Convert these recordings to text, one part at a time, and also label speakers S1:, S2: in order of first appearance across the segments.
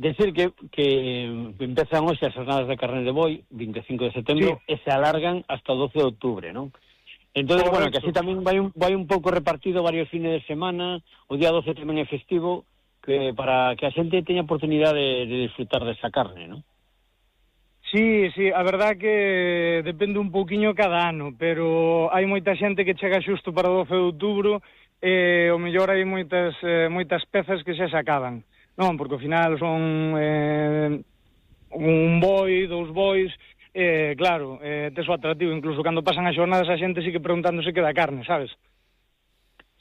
S1: Decir que empezan hoxe as jornadas de carne de boi, 25 de setembro,
S2: Sí.
S1: e se alargan hasta o 12 de outubro, non? Entón, bueno, que así tamén vai un pouco repartido varios fines de semana, o día 12 tamén é festivo, que para que a xente teña oportunidade de disfrutar desa carne, non?
S2: Sí, a verdad que depende un pouquiño cada ano, pero hai moita xente que chega xusto para o 12 de outubro e o mellor hai moitas pezas que xa se acaban. Non, porque ao final son un boi, dous bois, claro, tes o atractivo, incluso cando pasan as xornadas a xente sigue preguntándose que da carne, sabes?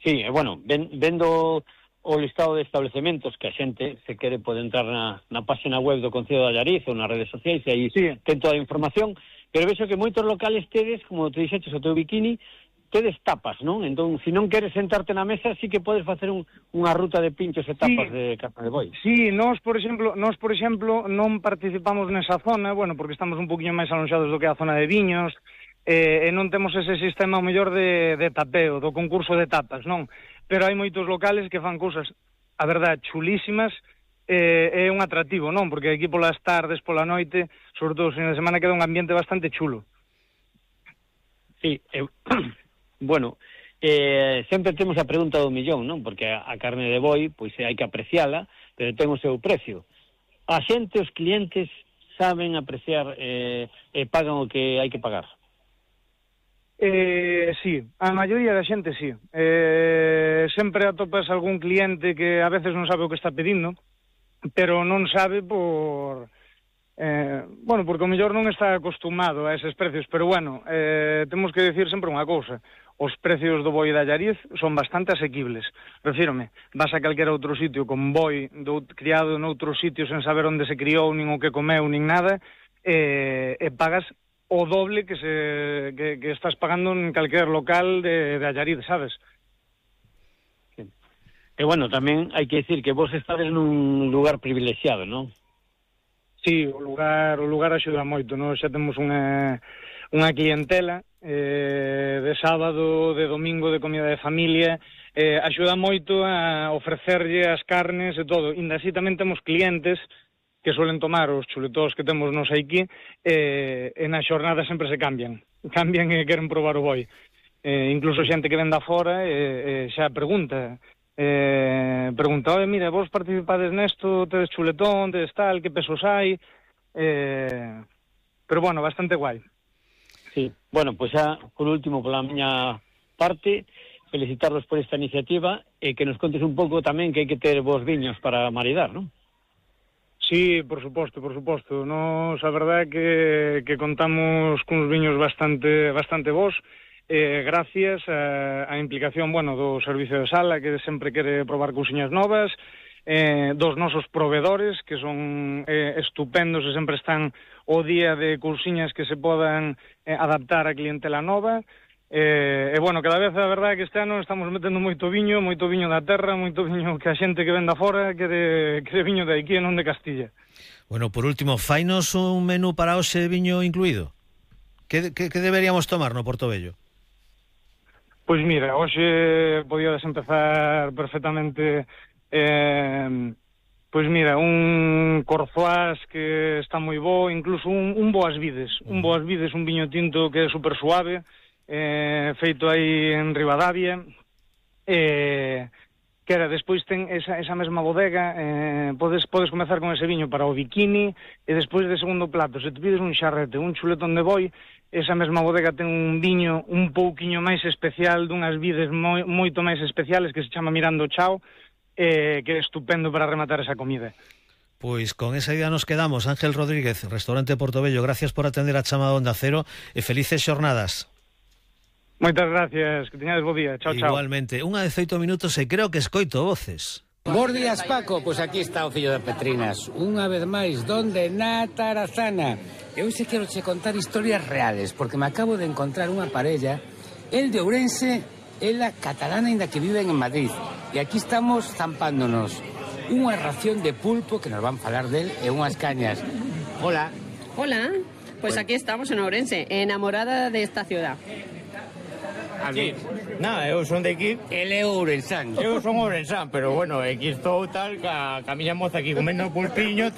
S1: Sí, bueno, vendo o listado de establecementos que a xente, se quere, pode entrar na página web do Concello de Allariz ou nas redes sociais, e aí ten toda a información, pero vexo que moitos locales tedes, como te dixeches, o teu bikini, tedes tapas, non? Entón, se non queres sentarte na mesa, sí que podes facer unha ruta de pinchos e tapas de carne de boi.
S2: Sí, nós, por exemplo, non participamos nesa zona, bueno, porque estamos un poquinho máis alonxados do que a zona de viños, e non temos ese sistema o mellor de tapeo, do concurso de tapas, non? Pero hai moitos locales que fan cousas, a verdade, chulísimas, é un atractivo, non? Porque aquí polas tardes, pola noite, sobre todo os fines de semana, queda un ambiente bastante chulo.
S1: Sí, bueno, sempre temos a pregunta do millón, non? Porque a carne de boi, pois hai que apreciala, pero ten o seu precio. A xente, os clientes, saben apreciar e pagan o que hai que pagar.
S2: Sí, a maioría da xente sí. Sempre atopas algún cliente que a veces non sabe o que está pedindo, pero non sabe por... bueno, porque o mellor non está acostumado a eses precios, pero bueno, temos que decir sempre unha cousa: os precios do boi de Allariz son bastante asequibles. Refírome, vas a calquera outro sitio con boi criado noutros sitios sen saber onde se criou, nin o que comeu, nin nada, e pagas o doble que estás pagando en calquer local de Allariz, sabes?
S1: E bueno, tamén hai que decir que vos estades nun lugar privilexiado, non?
S2: Sí, o lugar axuda moito, non? Xa temos unha clientela de sábado, de domingo, de comida de familia, axuda moito a ofrecerlle as carnes e todo. Inda así tamén temos clientes que suelen tomar os chuletós que temos nos aquí, e na xornada sempre se cambian e queren probar o boi. Incluso xente que vende afora xa pregunta, mira, vos participades nesto, tedes chuletón, tedes tal, que pesos hai, pero bueno, bastante guai.
S1: Sí, bueno, pois xa, por último, pola miña parte, felicitarlos por esta iniciativa e que nos contes un pouco tamén que hai que ter vos viños para maridar, non?
S2: Sí, por suposto. Nos, a verdade que contamos cuns viños bastante bons, gracias á implicación, bueno, do servicio de sala, que sempre quere probar cousiñas novas, dos nosos provedores, que son estupendos e sempre están o día de cousiñas que se podan adaptar á clientela nova. E bueno, cada vez a verdade que este ano estamos metendo moito viño da terra, moito viño que a xente que vende afora quere viño de aquí e non de Castilla.
S3: Bueno, por último, fainos un menú para hoxe viño incluído. Que deberíamos tomar no Portobello?
S2: Pois mira, hoxe podíades empezar perfectamente, pois mira, un corzoás que está moi bo, incluso un boas vides, un viño tinto que é super suave, feito aí en Ribadavia, que era, despois ten esa mesma bodega, podes comezar con ese viño para o bikini, e despois de segundo plato, se te pides un xarrete, un chuletón de boi, esa mesma bodega ten un viño un pouquiño máis especial, dunhas vides moito máis especiales, que se chama Mirando Chao, que é estupendo para rematar esa comida.
S3: Pois con esa idea nos quedamos. Ángel Rodríguez, Restaurante Portobello, gracias por atender a chamada Onda Cero e felices xornadas.
S2: Moitas gracias, que teñades bo día. Chao, chao.
S3: Igualmente, 1:18 e creo que escoito voces.
S4: Bos días, Paco. Pois aquí está o fillo de Petrinas. Unha vez máis, donde? Na Tarazana. Eu se quero che contar historias reales, porque me acabo de encontrar unha parella, el de Ourense, ela catalana, ainda que viven en Madrid. E aquí estamos zampándonos unha ración de pulpo, que nos van falar del, e unhas cañas. Hola.
S5: Hola. Pues aquí estamos en Ourense, enamorada de esta ciudad.
S4: Ali.
S5: Nada, eu son de aquí.
S4: El é ourensán.
S5: Eu son ourensán, pero bueno, aquí estou tal, ca miña moza aquí comendo pulpiño.